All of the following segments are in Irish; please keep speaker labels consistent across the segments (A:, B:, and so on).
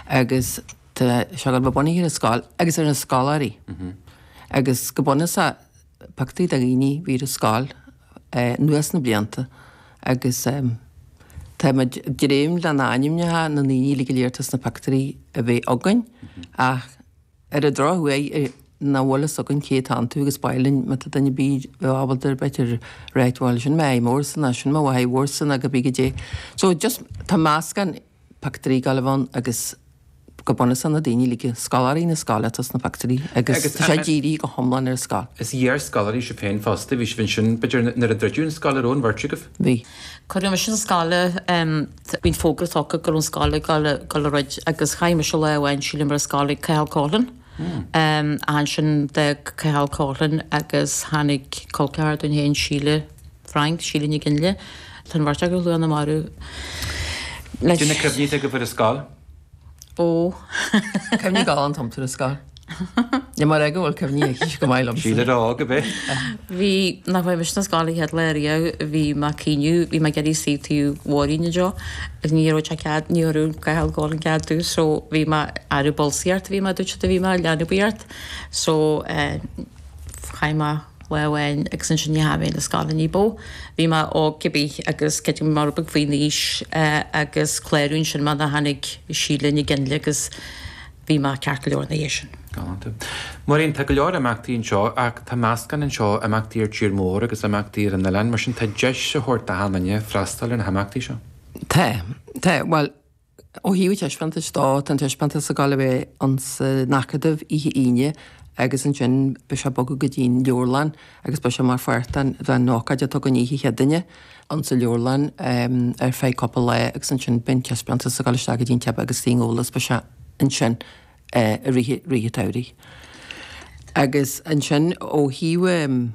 A: Agus tá sé ag gabháil a bheith bunaithe ar an scoil agus ar na scoláirí. Agus go bunúsach pioctúirí de dhaoine a bhí ar an scoil anuas na blianta agus tá muid ag dréim le na ainmneacha na ndaoine uilig go léir atá sna pictiúirí a bheith againn ach ar an drochuair nach bhfuil fhios againn cé atá iontu agus ba mhaith linn má tá duine ar bith ábalta ar b'fhéidir ráit bhuel sin m'athair mhórsa nó sin mo mháthair mhórsa nó cibé goidé. So just tá meascán pictiúirí ag gabháil a bheith ann agus go bunúsach na daoine uilig, scoláirí na scoile atá sna pictiúirí agus tá sé dírithe go hiomlán ar an scoil.
B: Is iar-scoláirí sibh féin fosta, bhí sibh ansin b'fhéidir nuair a druideadh an scoil, an raibh an bheirt agaibh?
A: Bhí.
C: Cuireadh mise sa scoile, bhí an fógra tugtha go raibh an scoil ag dul a dhruid agus chaith mise lá amháin sílim ar an scoil ag Cathal Coughlan. Ansin d'fhág Cathal Coughlan agus tháinig col ceathar dúinn féin, Síle Frank, Síle Nic Fhionnghaile. Tá an bheirt acu slán marbh.
B: Cad é na cuimhní atá agaibh ar an scoil?
C: Ó.
A: Cuimhní galánta iontu ar an scoil. Ní mar é go bhfuil cuimhní aici go maith liomsa.
B: Síle óg ab ea?
C: Bhí, nach bhfuair mise na scoil an chéad lá riamh, bhí mé ag caoineadh, bhí mé ag iarraidh suí taobh Mháirín anseo agus ní raibh sé cead, ní raibh Cathal Coughlan cead domh so bhí mé, ag bolsaíocht a bhí mé duit a bhí mé, leanbaíocht so eh chaith mé lá amháin agus ansin ní dheachaigh mé na scoile ní bó. Bhí mé óg cibé agus creidim go raibh mé rud beag faoin aois eh agus clárú ansin mar a tháinig Síle Nic Fhionnghaile agus Bhí mé ceart go leor ina dhiaidh sin.
B: Galánta. Máirín, tá go leor imeachtaí anseo ach tá meascán anseo, imeachtaí ar tír mór agus imeachtaí ar an oileán, mar sin tá deis á thabhairt d'achan duine freastal ar na himeachtaí seo.
A: Tá. Tá. Bhuel, ó thaobh an taispeántais dó, tá an taispeántas ag gabháil a bheith insan Acadamh oíche Aoine agus ansin beidh sé ag bogadh go dtí an leabharlann agus beidh sé mar pháirt den den ócáid atá againn oíche Chéadaoine insa leabharlann ar feadh cúpla lá agus ansin beidh an taispeántas ag dul isteach go dtí an tsiopa agus Tigh Eolas beidh sé ansin i rith rith an tsamhraidh. Agus ansin ó thaobh an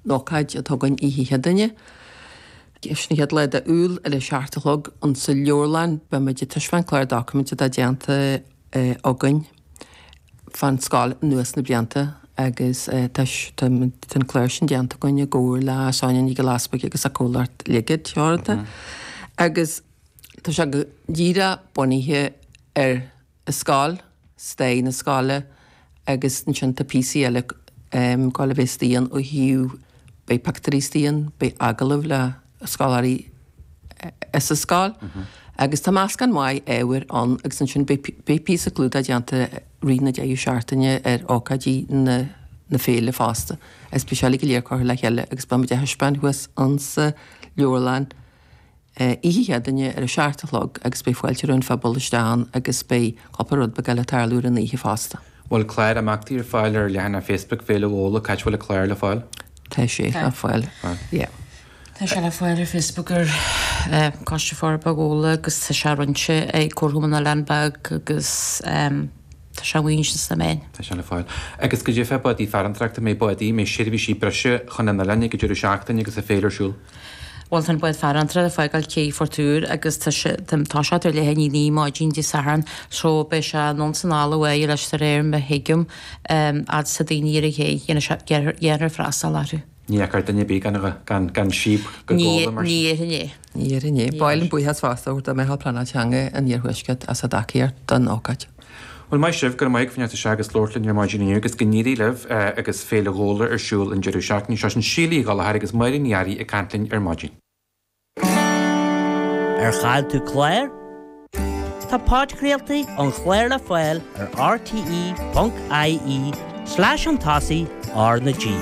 A: ócáid atá againn oíche Chéadaoine, sin an chéad lá de Iúil ar a seacht a chlog insa leabharlann beidh muid ag taispeáint clár doiciméid atá déanta againn. fán scoil anuas na blianta agus tá an clár sin déanta againn i gcomhar le Sonia Nic Giolla Easbuig agus a comhlacht Ligid Teoranta agus tá sé go díreach bunaithe ar an scoil, stair na scoile agus ansin tá píosaí eile ag gabháil a bheith istigh ann ó thaobh, beidh pictiúirí istigh ann, beidh agallaimh le scoláirí as an scoil agus tá meascán maith ábhair ann agus ansin beidh píosa clúdaigh déanta i rith na deireadh seachtaine ar ócáidí na na féile fosta agus beidh sé uilig go léir curtha le chéile agus beidh muid á thaispeáint thuas insa leabharlann oíche Chéadaoine ar a seacht a chlog agus beidh fáilte roimh an phobal isteach ann agus beidh cúpla rud beag eile ag tarlú ar an oíche fosta.
B: Bhfuil clár imeachtaí ar fáil ar leathanach Facebook Féile Ghabhla? Cá háit a bhfuil an clár le fáil?
A: Tá sé le fáil, yeah.
C: Tá sé le fáil ar Facebook ar Coiste Forbartha Ghabhla agus tá sé roinnte ag Comharchumann na nOileán Beag agus tá sé amuigh ansin sna meáin.
B: Tá sé le fáil. Agus goidé fá bádaí farantóireachta, an mbeidh bádaí, an mbeidh seirbhísí breise chun an oileáin ag an deireadh seachtaine agus an féile ar siúl?
C: Bhuel tá an bád farantóireachta ag fágáil Cé Phort Iúir agus tá sé, tá toiseacht ar leath i ndiaidh a 9 maidin Dé Sathairn so beidh sé anonn 's anall uaidh leis de réir mar a thuigim, fhad 's tá daoine ar an ché, dhéanfar freastal orthu.
B: Ní fheicfear duine ar bith gan, gan, gan síob go Gabhla mar
C: sin. Ní déarfainn é.
A: Ní déarfainn é. Ba mhaith linn buíochas fosta a thabhairt do Mheitheal Pleanála Teanga an Iarthuaiscirt as a dtacaíocht don ócáid.
B: Bhuel, maith sibh, go raibh maith agaibh as fanacht isteach agus labhairt linn ar maidin inniu agus go n-éirí libh agus Féile Ghabhla ar siúl an deireadh seachtaine seo. Sin Síle Uí Ghallchóir agus Máirín Ní Fhearraigh ag caint linn ar maidin.
D: Ar chaill tú clár? Tá podchraoltaí an chláir le fáil ar rte.ie slash chun tosaigh R na G.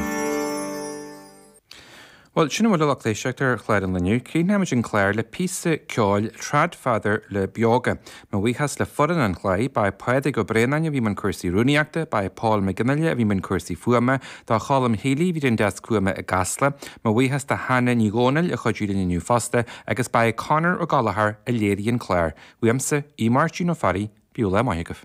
B: Bhuel, sin a bhfuil a lucht éisteachta ar chlár an lae inniu. Críochnóimid an clár le píosa ceoil Tradfather le Beoga. Mo bhuíochas le foireann an chláir, ba é Pádraig Ó Braonáin a bhí i mbun cúrsaí rúnaíochta, ba é Paul McGinley a bhí i mbun cúrsaí fuaime, do Cholm Healy a bhí ar an deasc fuaime i gCasla, mo bhuíochas do Hannah Ní Dhomhnaill a chuidigh linn inniu fosta, agus ba é Conor Ó Gallchóir a léirigh an clár. Uaimse, Aodh Máirtín Ó Fearraigh, bíodh lá maith agaibh.